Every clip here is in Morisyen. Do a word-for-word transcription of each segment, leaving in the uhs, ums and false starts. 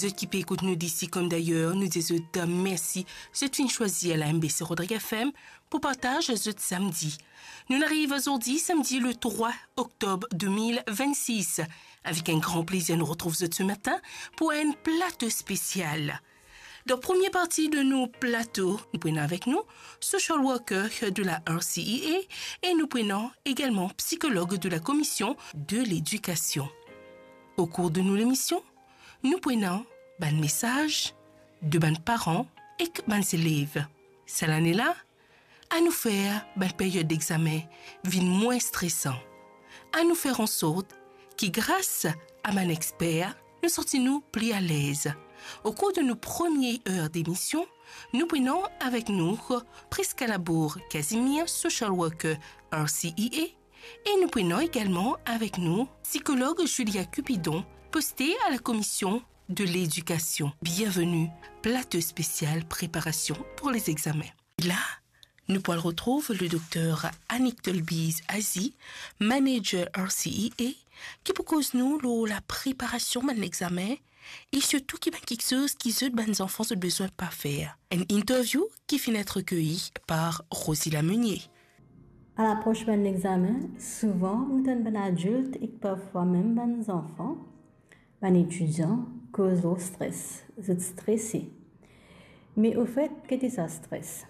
Zot ki pe ekout nou disi kom dayer, nou dir zot mersi. Zot finn swazir la M B C Rodrigues F M pou partaz zot samdi. Nou ariv zordi, samdi le trwa oktob de mil vennsis. Avek enn gran plezir, nou retrouv zot se matin pou enn plato spesial. Dan premie parti de nou plato, nou pou ena avek nou social worker de la R C E A e nou pou ena egalman psikolog de la Komision de Ledikasion. Okour de nou lemision, nou pou ena bann mesaz de bann paran ek bann zelev. Sa lane la, anou fer bann period dexamen vinn mwin stresan. Anou fer ansort ki gras a bann exper, nou santi nou pli alez. Okour de nou premie er demision, nou pou ena avek nou Prisca Labour Casimir, social worker R C E A, e nou pou ena egalman avek nou psikolog Julia Cupidon, poste a la Komision de Ledikasion. Bienveni, plato spesial preparasion pou lezexamen. La, nou pou al retrouv le dokter Annick Tolbiz Azi, manager R C E A, ki pou koz nou lor lapreparasion bann lexamen e sirtou ki bann kiksoz ki zot bann zanfan zot bizin pa fer. Enn interview ki finn et rekeye par Rosila Meunier. Alapros bann lexamen, souvan nou tann bann adilt ek parfwa mem bann zanfan, bann etidian koz lor stres, zot strese. Me ofet, ki ki sa stres?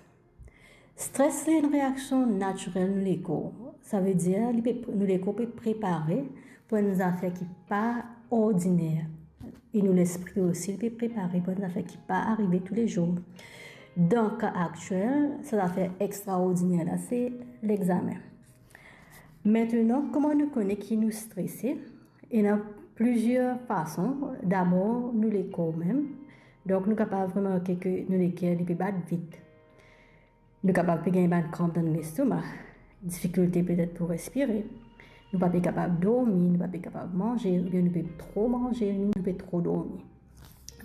Stres, li enn reaksion natirel nou lekor. Savedir, li pe, nou lekor pe prepare pou enn zafer ki pa ordiner. E nou lespri osi, li pe prepare pou enn zafer ki pa arive toulezour. Dan ka aktiel, sa zafer extraordiner la, se lexamen. Aster, kouma nou kone ki nou strese? Ena plizier fason. Dabor, nou lekor mem. Donk, nou kapav remarke ki nou leker, li pe bat vit. Nou kapav pe gagn bann kranp dan nou lestoma, difikilte petet pou respire. Nou pa pe kapav dormi, nou pa pe kapav manze, oubien nou pe tro manze, nou pe tro dormi.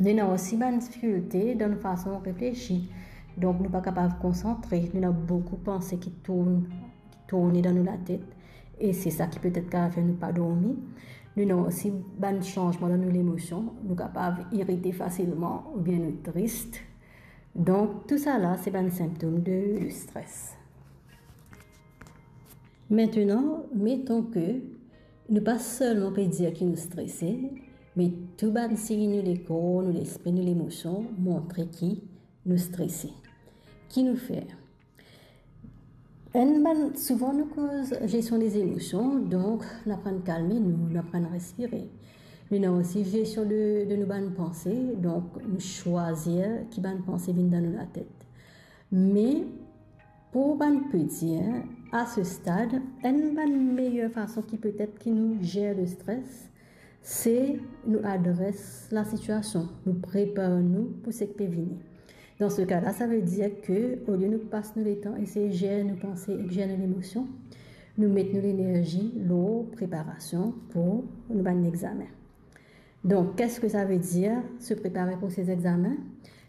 Nou ena osi bann difikilte dan nou fason reflesi. Donk, nou pa kapav konsantre, nou ena boukou panse ki tourn, ki tourne dan nou latet. E se sa ki petet kapav fer nou pa dormi. Nou ena osi bann sanzman dan nou lemosion. Nou kapav irite fasilman oubien nou tris. Donk, tousala, se bann sintom de, de stres. Aster, meton ki nou pa selman pe dir ki nou strese, me tou bann sign nou lekor, nou lespri, nou lemosion montre ki nou strese. Ki nou fer? Enn bann, souvan nou koz gestion des émotions, donk nou aprann kalme nou, nou aprann respire. Nou ena osi gestion de, de nou bann panse, donk nou swazir ki bann panse vinn dan nou latet. Me pou bann peti, a se stad, enn bann meyer fason ki petet ki nou zer le stres, se nou adres lasitiasion, nou prepar nou pou seki pe vini. Dan se ka la, savedir ki olie nou pas nou letan esey zer nou panse ek zer nou lemosion, nou met nou lenerzi lor preparasion pou nou bann lexamen. Donk, qu'est-ce que ça veut dire, se prepare pou se examen?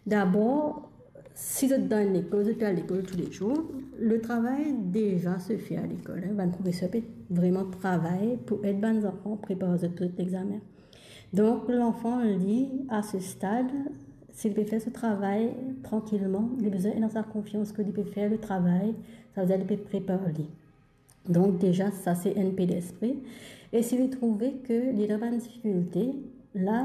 Dabor, si zot dan enn lekol, zot pe al lekol toulezour, le travay deza se fer a lekol, hein. Bann profeser pe vreman travay pou ed bann zanfan prepar zot pou zot examen. Donk, lanfan, li, a se stad, si li pe fer so travay trankilman, li bizin ena sa konfians ki li pe fer le travay, savedir li pe prepar li. Donk, deza, sa se enn pe lespri. E si li trouve ki li ena bann difikilte, la,